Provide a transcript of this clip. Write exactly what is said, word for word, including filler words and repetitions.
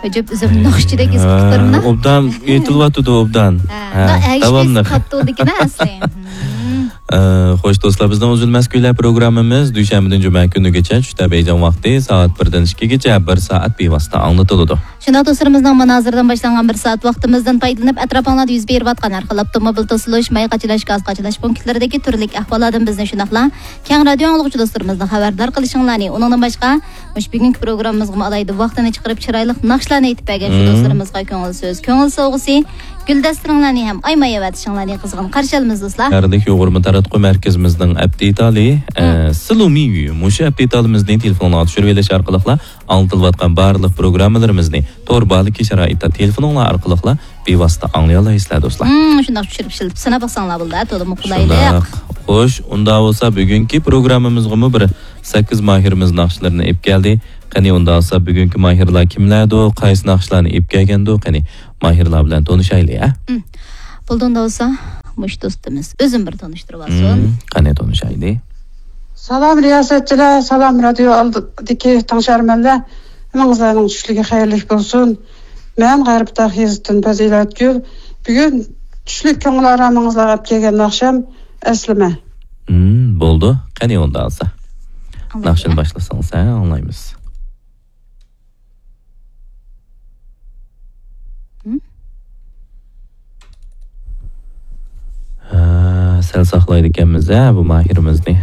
ئەجەب ئۆزۈم ناخشىچىدەك ئېسىپ تۇرمىنا. ئوبدان ئېيتىلىۋاتىدۇ، ئوبدان. ھە، ھە، داۋاملىق. قاپتۇ دېگىنە ئەسلى. ئە، خوش دوستلار، بىزنىڭ ئۈزۈلمەس كۈيلەر پروگراممىمىز دۈشەنبىدىن جۈمە كۈنىگىچە چۈشتە بېيجىڭ ۋاقتى سائەت بىردىن ئىككىگىچە بىر سائەت بىۋاسىتە ئاڭلىتىلىدۇ. شۇنداق دوستلىرىمىزنىڭ مانا ھازىردىن باشلانغان بىر سائەت ۋاقتىمىزدىن پايدىلىنىپ، ئەتراپىڭلاردا يۈز بېرىۋاتقان ھەر خىل ئاپتوموبىل توسۇلۇش، ماي قاچىلاش، گاز قاچىلاش پونكىتلىرىدىكى تۈرلۈك ئەھۋاللاردىن بىزنى شۇنداقلا كەڭ رادىيو ئاڭلىغۇچى دوستلىرىمىزنى خەۋەردار قىلىشىڭلارنى، ئۇنىڭدىن باشقا مۇشۇ بۈگۈنكى پروگراممىمىزغىمۇ ئالاھىدە ۋاقتىنى چىقىرىپ، چىرايلىق ناخشىلارنى ئېيتىپ بەرگەن شۇ دوستلىرىمىزغا كۆڭۈل سۆز، كۆڭۈل سوۋغىسى، گۈل دەستىلىرىڭلارنى ھەم ئايىماي ئەۋەتىشىڭلارنى قىزغىن قارشى ئالىمىز، دوستلار. شەھەرلىك يۇغۇرما تاراتقۇ مەركىزىمىزنىڭ ئەپتى ئىتالى، ئە، سىلۇمىيۇ مۇشۇ ئەپتى ئىتالىمىزنى تېلېفونغا چۈشۈرۈۋېلىش ئارقىلىقلا ئاڭلىتىلىۋاتقان بارلىق پروگراممىلىرىمىزنى تور باھالىكى شارائىتتا تېلېفونۇڭلار ئارقىلىقلا بىۋاسىتە ئاڭلىيالايسىلەر، دوستلار. مم، شۇنداق چۈشۈرۈپ ئىشلىتىپ سىناپ باقساڭلار بولىدۇ، تولىمۇ قولايلىق. شۇنداق. خوش، ئۇنداق بولسا بۈگۈنكى پروگراممىمىزغىمۇ بىر سەككىز ماھىرىمىز ناخشىلىرىنى ئېلىپ كەلدى. قېنى ئۇنداق بولسا بۈگۈنكى ماھىرلار كىملەردۇ، قايسى ناخشىلارنى ئېلىپ كەلگەندۇ؟ قېنى ماھىرلار بىلەن تونۇشايلى، ھە؟ مم. بولدى ئۇنداق بولسا مۇشۇ دوستىمىز ئۆزىنى بىر تونۇشتۇرۇۋالسۇن. مم، قېنى تونۇشايلى. سالام رىياسەتچىلەر، سالام رادىيو ئالدىدىكى تىڭشارمەنلەر. ھەممىڭلارنىڭ چۈشلۈكى خەيرلىك بولسۇن. مەن غەربىي تاغ يېزىسىدىن پەزىلەتگۈل. بۈگۈن چۈشلۈك كۆڭۈل ئارامىڭىزلارغا ئەپ كەلگەن ناخشام ئەسلىمە. مم، بولدى. قېنى ئۇنداق بولسا. ئاڭلايمىز. ناخشىنى باشلىسىڭىز، ھە، ئاڭلايمىز. ھە؟ ھە، سەل ساقلايدىكەنمىز، ھە، بۇ ماھىرىمىزنى.